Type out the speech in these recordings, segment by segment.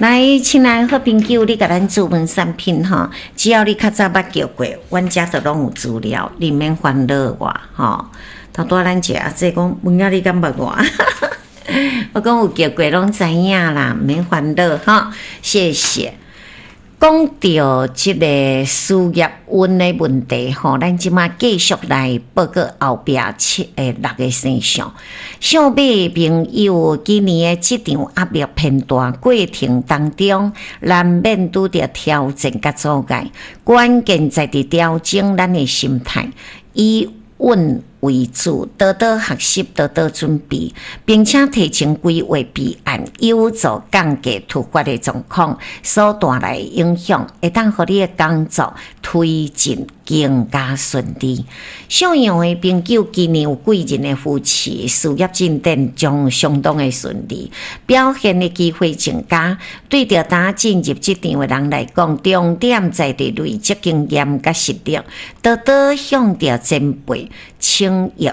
來，親愛好朋友，你共咱注文產品吼，只要你較早捌叫過，阮遮都攏有資料，你毋免煩惱我吼。頭拄仔咱一個阿姐講，文仔你敢捌我？我講有叫過攏知影啦，毋免煩惱吼，謝謝。講著這个事業運的問題吼，咱這馬繼續來報告後壁七六個生肖。屬馬朋友，今年的職場壓力偏大，過程當中難免拄著挑戰佮阻礙，關鍵在佇調整咱的心態，以穩為主，多多學習，多多準備，並且提前規劃備案，有助降低突發的狀況所帶來的影響，會當予你的工作推進更加順利。屬羊的朋友，今年有貴人的扶持，事業進展將相當的順利，表現的機會增加。對著剛進入職場的人來講，重點在佇累積經驗佮實力，多多向著前輩請益，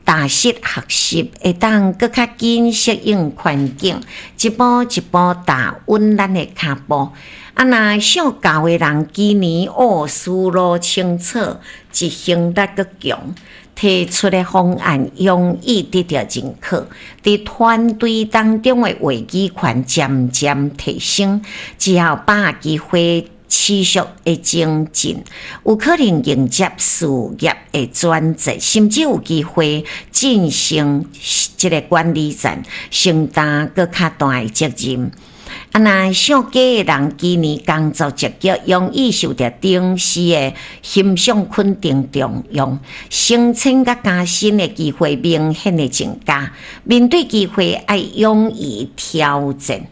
踏實學習，會當閣較緊適應環境，一步一步踏穩咱的跤步。啊，若屬狗的人，今年哦思路清楚，執行力閣強，提出的方案容易得著認可，佇團隊當中的話語權漸漸提升，只要把握機會持續的精進，有可能迎接事業的轉折，甚至有機會晉升這个管理層，承擔閣較大的責任。啊，若屬雞的人，今年工作積極，容易受著頂司的欣賞肯定重用，升遷佮加薪的機會明顯的增加。面對機會，愛勇於挑戰，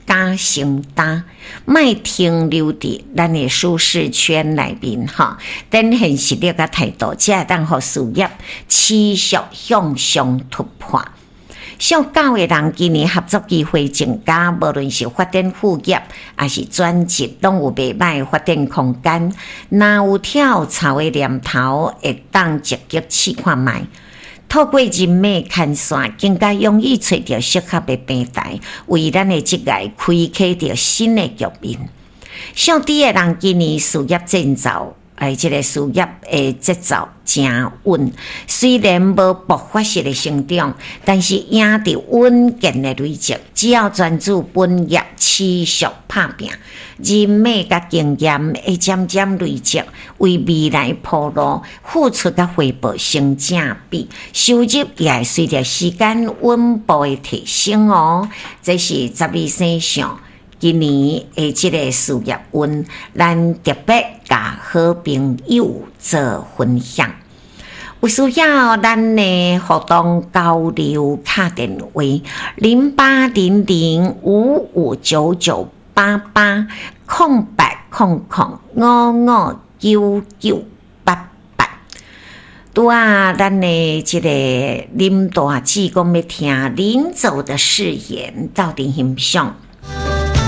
敢承擔，莫停留佇咱的舒適圈內面吼，展現實力佮態度，才會當予事業持續向上突破。屬狗的人，今年合作機會增加，無論是發展副業，抑是轉職，攏有袂䆀的發展空間。若有跳槽的念頭，會當積極試看覓。透過人脈牽線，更加容易揣著適合的平台，為咱的職涯開啟著新的局面。屬豬的人，今年事業進奏，哎，這个事業的節奏誠穩，雖然無爆發式的成長，但是贏佇穩健的累積。只要專注本業，持續拍拚，人脈佮經驗會漸漸累積，為未來鋪路，付出佮回報成正比，收入也會隨著時間穩步的提升哦。這是12生肖今年的這个事業運，咱特別共好朋友做分享。有需要咱的活動交流敲電話0800559988 0800559988。拄仔咱的這个林大姊講欲聽臨走的誓言，鬥陣欣賞。